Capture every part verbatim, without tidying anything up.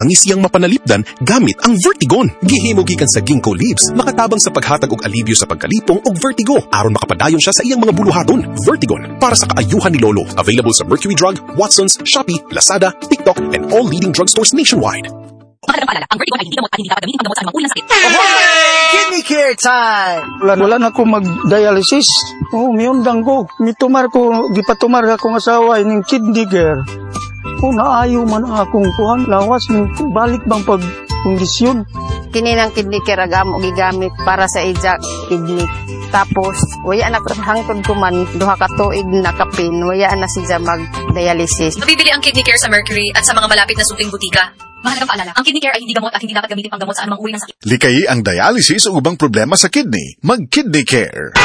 Ang isiyang mapanalipdan gamit ang Vertigon. Gihimo gikan sa ginkgo leaves, makatabang sa paghatag og alibyo sa pagkalipong og vertigo aron makapadayon siya sa iyang mga buluhaton. Vertigon para sa kaayuhan ni Lolo. Available sa Mercury Drug, Watsons, Shopee, Lazada, TikTok, and all leading drugstores nationwide. Mahalagang paalala, ang Vertigon ay hindi gamot at hindi dapat gamitin panggamot sa anumang uri ng sakit. Kidney care time! Wala, wala na ko mag-dialysis. Oh, miundang ko. Mitumar ko, gipatumar akong asawa ining kidney care. Oh, naayo man akong kuhan. Lawas, balik bang pag kondisyon. Kini ng kidney care ang amo gigamit para sa ija kidney. Tapos, waya na hangtod ko man duha ka tuig na kapin, waya na siya mag-dialysis. Mabibili ang kidney care sa Mercury at sa mga malapit na suking butika. Mahalagang paalala, ang kidney care ay hindi gamot at hindi dapat gamitin panggamot sa anumang uri ng sakit. Likayi ang dialysis o ubang problema sa kidney. Mag-kidney care.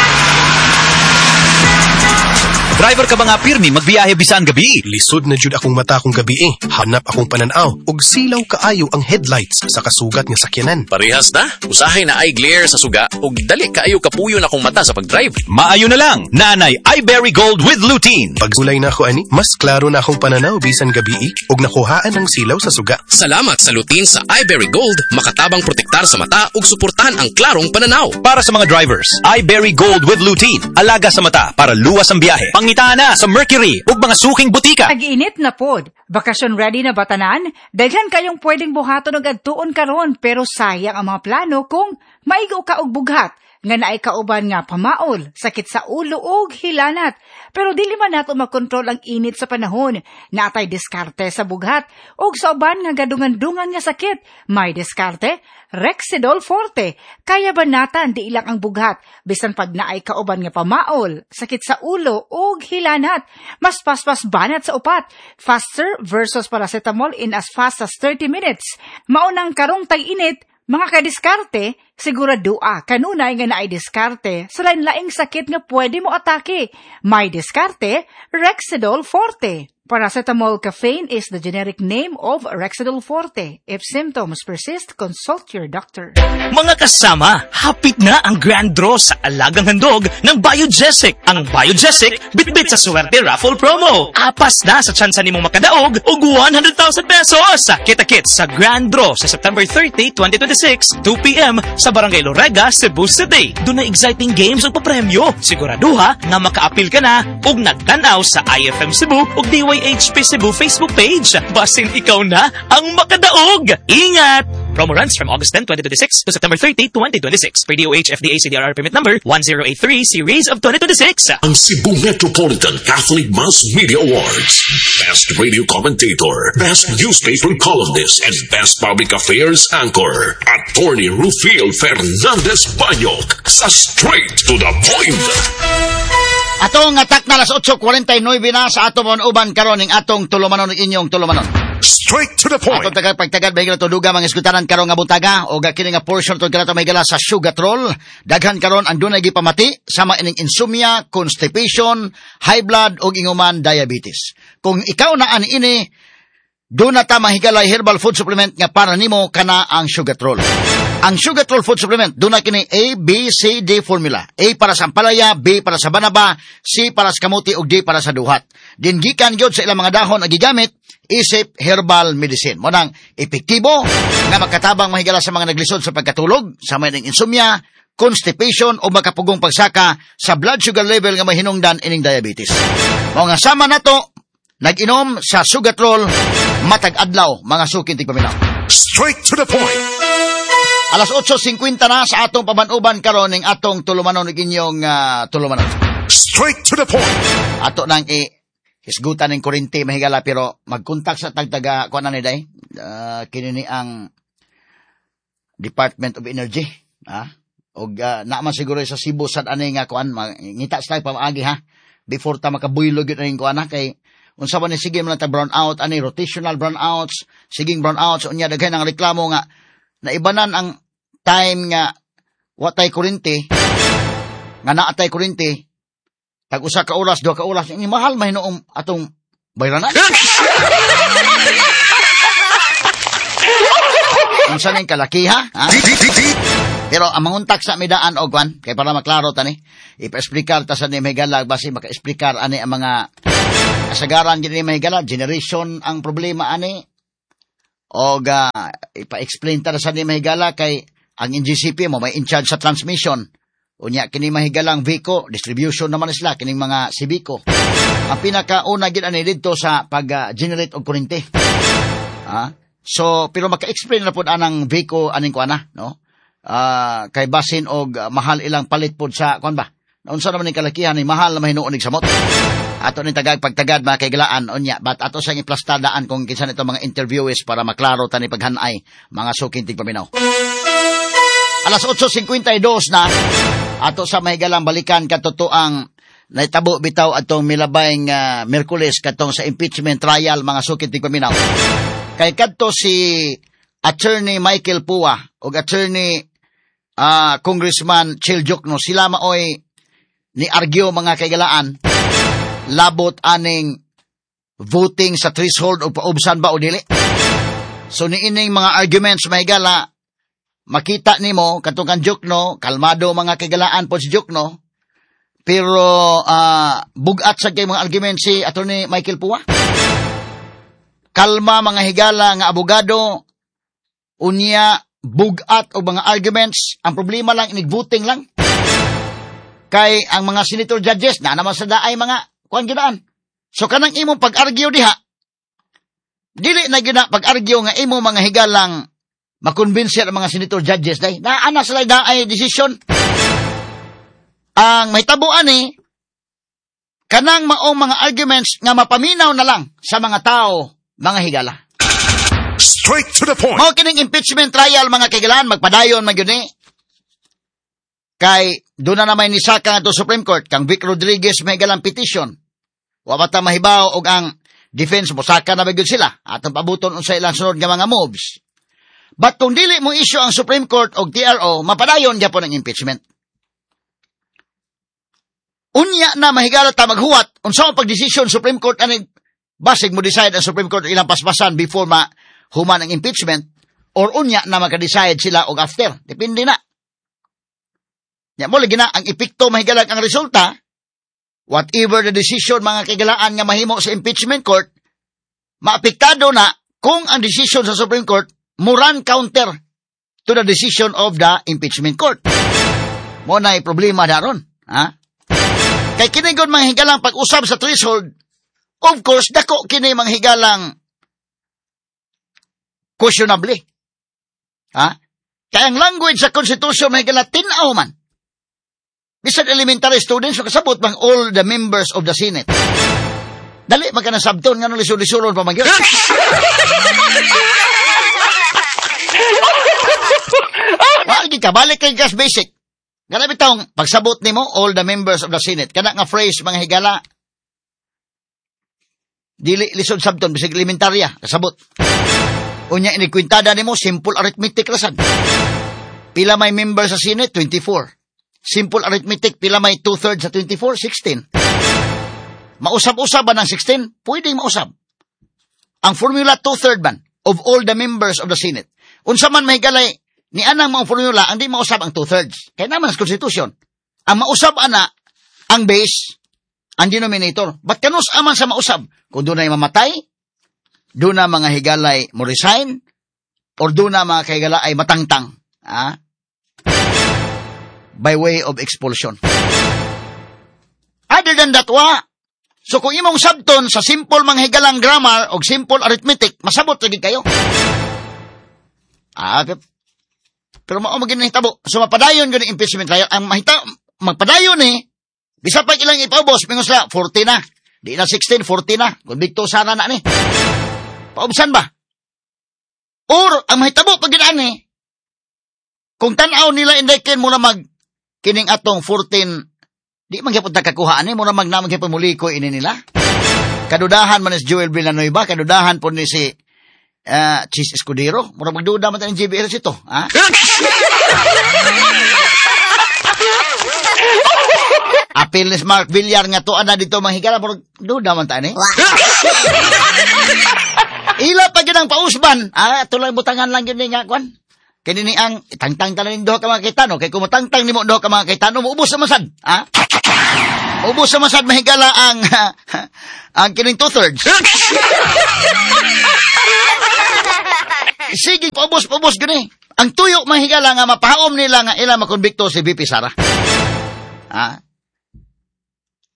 Driver ka ba nga pirmi magbiyahe bisan gabi? Lisod na jud akong mata kung gabi eh. Hanap akong pananaw ug silaw kaayo ang headlights sa kasugat nga sakyanan. Parehas na. Usahay naay glare sa suga ug dali kaayo kapuyon akong mata sa pag-drive. Maayo na lang. Naanay iBerry Gold with Lutein. Pagsulay na ako ani, mas klaro na akong pananaw bisan gabi eh, ug nakuhaan ang silaw sa suga. Salamat sa lutein sa iBerry Gold, makatabang protektar sa mata ug suportahan ang klarong pananaw. Para sa mga drivers, iBerry Gold with Lutein. Alaga sa mata para luwas ang biyahe. Pangitaa na sa Mercury ug mga suking butika. Tag-init na pod. Bakasyon ready na ba tanan? Daghan kayong pwedeng buhaton og adtuon karon pero sayang ang mga plano kung maigo ka og bughat nga naay kauban nga pamaol, sakit sa ulo ug hilanat. Pero dili man nato makontrol ang init sa panahon. Naatay diskarte sa bughat ug sa uban nga gadungan-dungan nga sakit. May diskarte, Rexidol Forte. Kaya ba natan di ilang ang bughat bisan pag naay kauban nga pamaol, sakit sa ulo ug hilanat. Mas paspas banat sa upat. Faster versus paracetamol in as fast as thirty minutes. Maunang karong tag-init, mga kadiskarte, siguradoa kanunay nga naay diskarte sa lain-laing sakit nga pwede mo atake. May diskarte, Rexidol Forte. Paracetamol caffeine is the generic name of Rexidol Forte. If symptoms persist, consult your doctor. Mga kasama, hapit na ang grand draw sa alagang handog ng Biogesic. Ang Biogesic, bitbit sa swerte raffle promo. Apas na sa tsansa nimong makadaog og one hundred thousand pesos. Kita-kits sa grand draw sa September thirty, twenty twenty-six, two p m sa Barangay Lorega, Cebu City. Duna exciting games ug papremyo. Siguraduha nga makaapil ka na ug nagtan-aw sa I F M Cebu ug D Y H P Cebu Facebook page. Basin ikaw na ang makadaog. Ingat! Promo runs from August ten, twenty twenty-six to September thirty, twenty twenty-six. Per D O H F D A C D R R permit number one zero eight three series of twenty twenty-six. Ang Cebu Metropolitan Catholic Mass Media Awards. Best Radio Commentator, Best Newspaper Columnist, and Best Public Affairs Anchor. Attorney Rufil Fernandez Banyok sa Straight to the Point. Atong atak na alas otso kwarenta y nuwebe na sa atong uban karon ning atong tulumanon ug inyong tulumanon. Straight to the point. Atong tagal pagtagad may tuduga mga iskutanan karon nga buntaga o kini nga portion tod kanato may sa Sugatrol. Daghan karon ang dunay gipamati sama ining insomnia, constipation, high blood ug inguman diabetes. Kung ikaw na ani ini, duna ta mahigalay herbal food supplement nga para nimo, kana ang Sugatrol. Ang Sugatrol food supplement, duna kini A, B, C, D formula. A para sa ampalaya, B para sa banaba, C para sa kamuti ug D para sa duhat. Din gikan gyud sa ilang mga dahon ang gigamit isip herbal medicine. Mao nang epektibo nga makatabang mahigala sa mga naglisod sa pagkatulog, sa may insomnia, constipation o makapugong pagsaka sa blood sugar level nga mahinungdan ining diabetes. Mao nga sama nato nag-inom sa Sugatrol matag adlaw, mga sukin tigpaminaw. Straight to the point. Alas otso singkwenta na sa atong pabanuban karon ning atong tulumanon ug inyong uh, tulumanon. Straight to the point. Ato nang i hisgutan ning kuryente mahigala pero magkontak sa tagtaga kuan na ni day. Uh, kini ni ang Department of Energy, ha? Og uh, naman siguro sa Cebu sad ani nga kuan, ngita sa pamaagi ha before ta makabuylog yun aning kuan ha, kay unsa ba ni sige man ta brown out ani, rotational brown outs, siging brown outs, unya daghan ang reklamo nga naibanan ang time nga watay kuryente nga naatay kuryente tag usa ka oras, duha ka oras, ini mahal man hinuong atong bayranan. Unsa ning kalaki ha? Ha? Pero ang manguntak sa midaan og kwan kay para maklaro tani, ipa-explicar ta sa ni mahigala basi maka-explicar ani ang mga kasagaran gini mahigala, generation ang problema ani. O uh, ipa-explain ta sa ni mahigala kay ang N G C P mo may in charge sa transmission. Unya kini mahigalang VECO, distribution naman sila kining mga Civico. Ang pinakauna gid ani didto sa pag-generate og kuryente. Ah? So pero maka-explain na pud anang VECO aning kuana, no? Ah, kay basin og uh, mahal ilang palit pod sa kuan ba? Unsa naman ning kalakihan ni mahal na mahinuon nig samot. Ato ning tagag pagtagad mga kaigalaan unya, but ato siyang iplastadaan kung kinsa nito mga interviewees para maklaro tani paghanay mga suking tigpaminaw. Alas otso singkwenta y dos na ato sa mahigalang balikan katotoang naitabo bitaw atong milabay nga uh, Miyerkules katong sa impeachment trial mga suking tigpaminaw. Kay kadto si Attorney Michael Pua ug Attorney uh, Congressman Chel Diokno, sila maoy ni argue mga kaigalaan labot aning voting sa threshold o paubsan ba o dili. So niining mga arguments mahigala makita nimo katong kang Diokno, kalmado mga kaigalaan po si Diokno, pero uh, bugat sa kay mga arguments si Attorney Michael Pua. Kalma mga higala nga abogado, unya bugat og mga arguments, ang problema lang inig voting lang. Kay ang mga senator judges na naman sa daay mga kuan gidaan. So kanang imong pag-argue diha, dili na gina pag-argue nga imo mga higalang makonbinse ang mga senator judges day. Naa na sila daay decision. Ang mahitabo ani kanang maong mga arguments nga mapaminaw na lang sa mga tao, mga higala. Straight to the point. Mao kining impeachment trial mga kaigalaan, magpadayon man gyud ni. Kay doon na naman ni saka nga to Supreme Court kang Vic Rodriguez may galang petition. Wa pa ta mahibaw og ang defense mo saka na ba gyud sila atong pabuton unsa ilang sunod nga mga moves. But kung dili mo issue ang Supreme Court og T R O, mapadayon gyapon ang impeachment. Unya na mahigala ta maghuwat unsa ang pagdesisyon Supreme Court ani basig mo decide ang Supreme Court ilang paspasan before ma human ang impeachment or unya na maka-decide sila og after. Depende na. Ya mo lagi na ang epekto mahigalag ang resulta, whatever the decision mga kaigalaan nga mahimo sa impeachment court, maapektado na kung ang decision sa Supreme Court muran counter to the decision of the impeachment court. Mo na problema daron, ha? Kay kini gud mga higalang pag-usab sa threshold, of course dako kini mga higalang questionable. Ha? Kay ang language sa Constitution mga higala tin-aw man. Bisan elementary students, makasabot bang all the members of the Senate. Dali, magka nasabton, nga nung lisod-lisulon pa man yun. Wala ka, balik kay gas basic. Ganap itong, pagsabot nimo all the members of the Senate. Kana nga phrase, mga higala, dili lisod sabton, bisag elementarya, kasabot. Unya, inikwintada nimo, simple arithmetic rasan. Pila may member sa Senate? twenty-four. Simple arithmetic, pila may two-thirds sa twenty-four? sixteen. Mausab-usab ba ng sixteen? Pwedeng mausab. Ang formula two-third man of all the members of the Senate. Unsa man mahigalay, ni anang mga formula, ang di mausab ang two-thirds. Kaya naman sa Constitution. Ang mausab ana, ang base, ang denominator. Ba't kanus aman sa mausab? Kung doon ay mamatay, doon na mga higalay mo resign, or doon na mga higala ay matangtang. Ah? By way of expulsion. Other than that, wa. So kung imong sabton sa simple mga higalang grammar o simple arithmetic, masabot lagi kayo. Ah, pero mao magin nahitabo. So mapadayon gyud ang impeachment trial. Ang mahita magpadayon ni bisa pa ilang ipaubos mingon sila forty na. Di na sixteen, forty na. Konbikto sana na ni. Paubsan ba? Or ang mahitabo pag ginaan ni kung tan-aw nila indeken mo na mag kining atong fourteen, di man gyapon ta kakuha ani mo na mag naman gyapon mulikoy ini nila. Kadudahan man ni Joel Villanueva, kadudahan po ni si uh, Chis Escudero. Mura magduda man ta ni J B R ito, ha? Apil ni Mark Villar nga tuan na dito manghigala, mura duda man ta ni. Ila pa gyud ang pausban. Ah, tulang butangan lang gyud ni nga kwan. Kini ni ang tangtang tanan duha ka mga kitano, kay kung matangtang nimo duha ka mga kitano, muubos na man sad, ha? Ubos sa masad mahigala ang ang kining two-thirds. Sige, paubos, paubos, gani. Ang tuyo mahigala nga mapahaom nila nga ila makonbikto si V P Sara. Ha?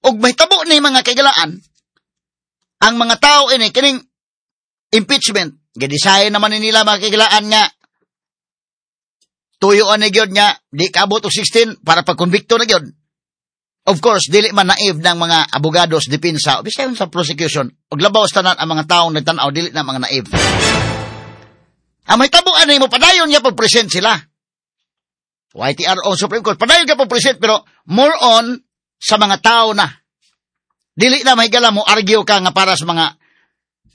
Og mahitabo ni mga kaigalaan, ang mga tao ini, kining impeachment, gidesign naman nila mga kaigalaan nga, tuyo ani gyud nga, di kaabot og sixteen para pagkonbikto na gyud. Of course, dili man naive ng mga abogados, depensa, bisan sa prosecution, og labaw sa tanan ang mga taong nagtan-aw, dili na mga naive. Ang mahitabo ani mo, padayon niya pag-present sila. Y T R O Supreme Court, padayon niya pag-present, pero more on sa mga tao na. Dili na mahigala mo, argue ka nga para sa mga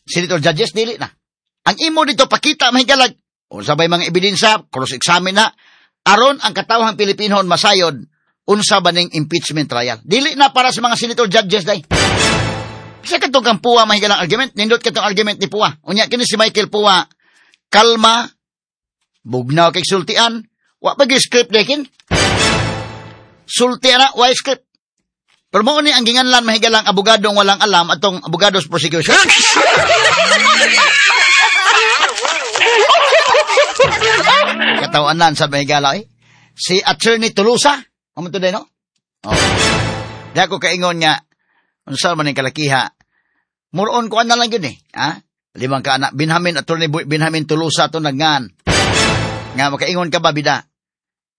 senator judges, dili na. Ang imo dito, pakita mahigala, unsa bay mga ebidensya, cross-examine na, aron ang katawhang Pilipinhon masayod, unsa ba ning impeachment trial. Dili na para sa mga senator judges, day. Sa katong kang Pua mahigalang argument, nindot katong argument ni Pua. Unya, kini si Michael Pua, kalma, bugnaw kay sultian, wa pa gyud script dekin. Sultian na, wa script. Pero mao ni ang ginganlan mahigalang abogadong walang alam atong abogados prosecution. Katawanan sa mahigala eh. Si Attorney Tolosa, amo to no? Oh. Di ako kaingon nga unsa man ning kalakiha. Muron ko na lang gyud eh, ha? Limang ka anak, Benjamin, Attorney Benjamin Tolosa to nagngan. Nga makaingon ka ba bida?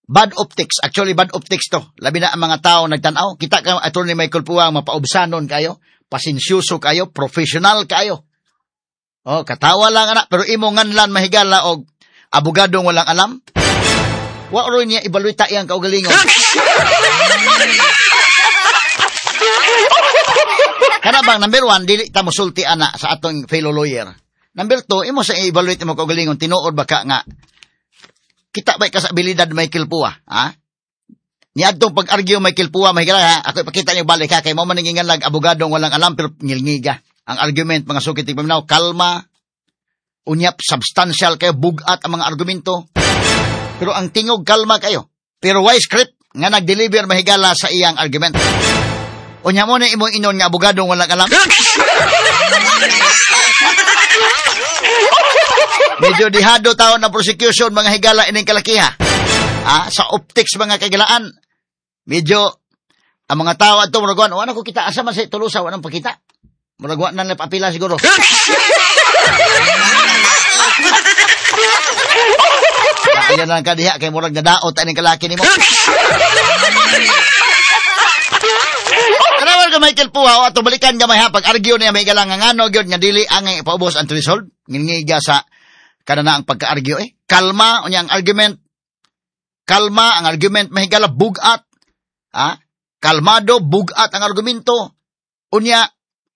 Bad optics, actually bad optics to. Labi na ang mga tao nagtan-aw. Kita ka Attorney Michael Pua mapaubsanon kayo, pasensyoso kayo, professional kayo. Oh, katawa lang anak, pero imo nganlan mahigala og abogadong walang alam. Wa ro niya evaluate iyang kaugalingon. Kana bang number one, dili ta mosulti ana sa atong fellow lawyer. Number two, imo sa evaluate imo kaugalingon tinuod ba ka nga kita ba ka sa abilidad Michael Pua, ha? Niadtong pag-argue Michael Pua, mahigala ha, ako ipakita niyo balik ha, kay mo man ningingan lang abogadong walang alam pero ngilngiga. Ang argument mga sukit paminaw, kalma, unyap substantial kayo, bugat ang mga argumento. Pero ang tingog kalma kayo. Pero why script nga nag-deliver mahigala sa iyang argument. Unya mo na imong inon nga abogadong walang alam. Medyo dihado taon na prosecution mga higala ining kalakiha. Ah, sa optics mga kagilaan. Medyo ang mga tao adto murag wa na ko kita asa man sa Tolosa wa nang pakita. Murag wa na papila siguro. Ayan lang ka diha kay murag nadaot ining kalaki nimo. Kanawan ka Michael Pua o ato balikan gamay ha pag-argue niya may galang nga ngano gyud nga dili ang ipaubos ang threshold ngingiga sa kanana ang pagka-argue eh. Kalma unya ang argument. Kalma ang argument mahigala bugat. Ha? Kalmado bugat ang argumento. Unya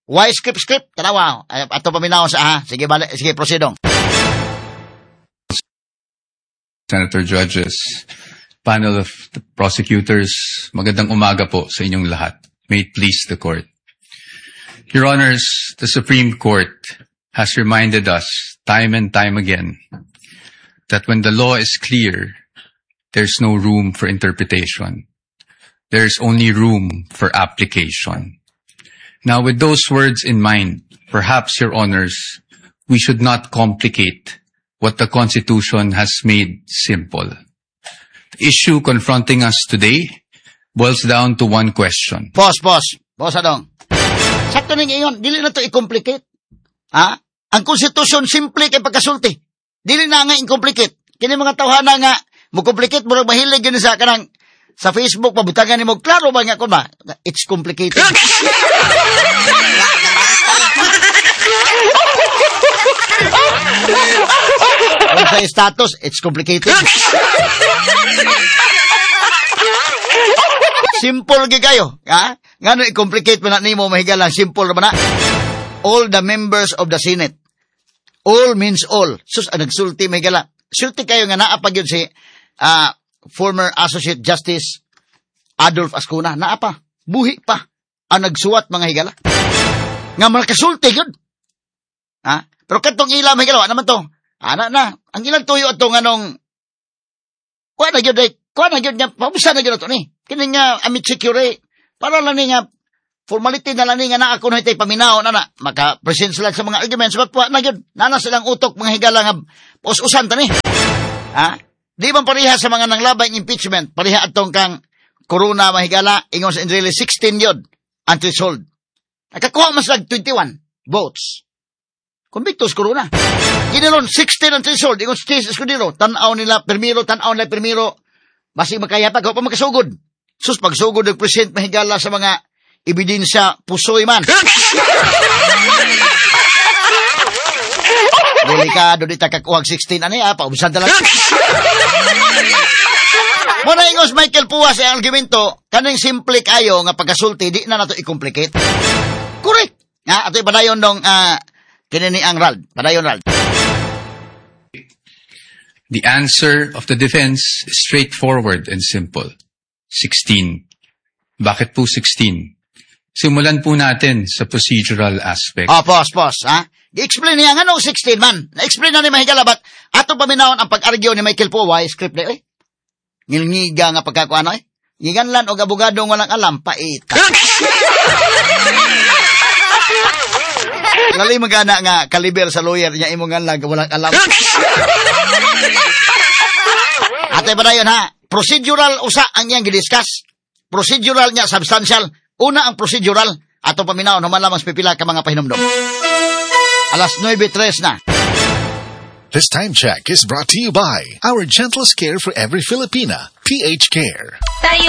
why script script tanawa ato paminaw sa ha. Sige bale, sige proceedong. Senator judges, panel of the prosecutors, magandang umaga po sa inyong lahat. May it please the court. Your Honors, the Supreme Court has reminded us time and time again that when the law is clear, there's no room for interpretation. There's only room for application. Now, with those words in mind, perhaps, Your Honors, we should not complicate what the Constitution has made simple. The issue confronting us today boils down to one question. Pause, pause. Pause, adong. Sakto ning ingon, dili na to i-complicate. Ha? Ang konstitusyon simple kay pagkasulti. Dili na nga i-complicate. Kini mga tawhana nga mo-complicate murag mahilig gyud sa kanang sa Facebook pabutangan nimo klaro ba nga kon ba? It's complicated. Kung sa status, it's complicated. Simple gyud kayo, ha? Ngano i-complicate man na nimo mahigala, simple ra man na. All the members of the Senate. All means all. Sus, ang nagsulti mahigala. Sulti kayo nga naa pa gyud si uh, former Associate Justice Adolf Ascuna. Naa pa. Buhi pa. Ang nagsuwat mga higala. Nga makasulti gyud. Ha? Pero katong ila mahigala, wa naman to. Ana na. Ang ilang tuyo atong anong kuha na gyud, kuha na gyud nga, paubusan na gyud ato ni. Kini nga amici curiae. Para lang ni nga Formality na lang ni nga naa kuno itay paminaw na na. Maka-present sila sa mga arguments. But wa na yun. Nana silang utok mga higala nga us-usan tani. Ha? Di ba pareha sa mga nanglabay impeachment? Pareha atong kang Corona mahigala, ingon sa Enrile sixteen yun, ang threshold. Nakakuha man sila twenty-one votes. Convictus Corona. Ginanon, sixteen ang threshold, ingon sa Chiz Escudero. Tanaw nila, permiro, tanaw nila, permiro. Basig makaya pa, pa makasugod. Sus, pagsugod ng present mahigala sa mga ebidensya, pusoy man. Delikado di takakuhag sixteen, ano ya, paubsan talaga. Muna ingos Michael Pua sa argumento, kaning simple kayo nga pagkasulti, di na nato i-complicate. Correct. Nga, ato'y padayon dong, uh, kinini ang Rald. Padayon, Rald. The answer of the defense is straightforward and simple. sixteen. Bakit po sixteen? Simulan po natin sa procedural aspect. Oh, pause, pause, ha? I-explain niya nga no, sixteen man. Na-explain na ni Mahigala, but ato paminawon ang pag-argue ni Michael Poa, script na, eh. Ngilngiga nga pagkakuano, eh. Ngiganlan og abogado walang alam, paita. Lali magana nga kaliber sa lawyer niya imong nganlan walang alam. Ate ba dayon ha? Procedural usa ang iyang gidiscuss. Procedural niya substantial. Una ang procedural ato paminawon human lamang sa pipila ka mga pahinumdom. Alas nuwebe tres na. This time check is brought to you by our gentlest care for every Filipina, P H Care. Tayo